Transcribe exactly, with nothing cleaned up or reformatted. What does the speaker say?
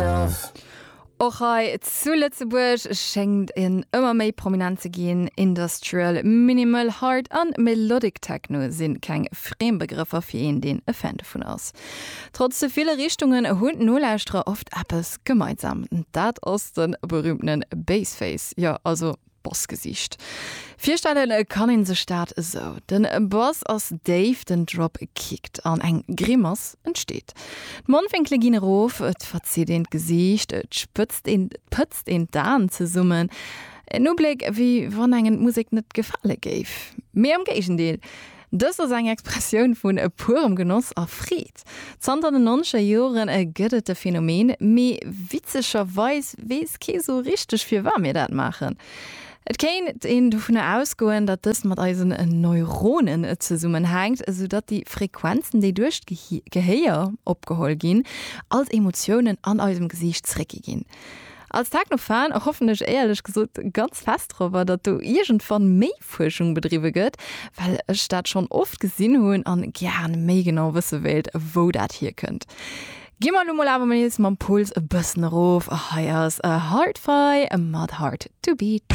myself. Och hei zu Lëtzebuerg schéngt en ëmmer méi prominent ze ginn. Industrial, Minimal, Hard an Melodic Techno sinn keng friem Begrëffer fir een, deen e Fan dovun ass. Trotz de ville Richtungen hunn d'Nolauschterer oft eppes gemeinsam, dat ass de berüümtene Bassface, jo also Bassgesiicht. Virstelle kann een sech dat esou, Den Bass ass déif, den Drop kickt an eng Grimass entsteet. D'Mondwénkele ginn erof, et verzitt een d'Gesiicht, et spëtzt een, pëtzt een d'Aen zesummen. En Ubléck, wéi wann engem d'Musek net gefale géif. Mee am Géigendeel, Dëst ass eng Expressioun vun purem Genoss a Freed. Zanter den nonzeger Joren gëtt et de Phänomen, mee witzegerweis weess kee sou richteg firwat mir dat maachen. Et kéint een dovunner ausgoen, datt dëst mat eisen Neuronen zesummenhänkt, esou datt déi Frequenzen, déi duerch d'Gehéier opgeholl ginn, als Emotiounen an eisem Gesiicht zeréckgi ginn. Als Techno-Fan hoffen ech éierlech gesot ganz fest dorobber, datt do iergendwann méi Fuerschung bedriwwe gëtt, well ech dat schonn oft gesinn hunn an gären méi genau wësse wéilt, wou dat hierkënnt. Gi mer elo mol awer nees mam Puls e bëssen erof, hei ass Hard-Fi mat Hard To Beat.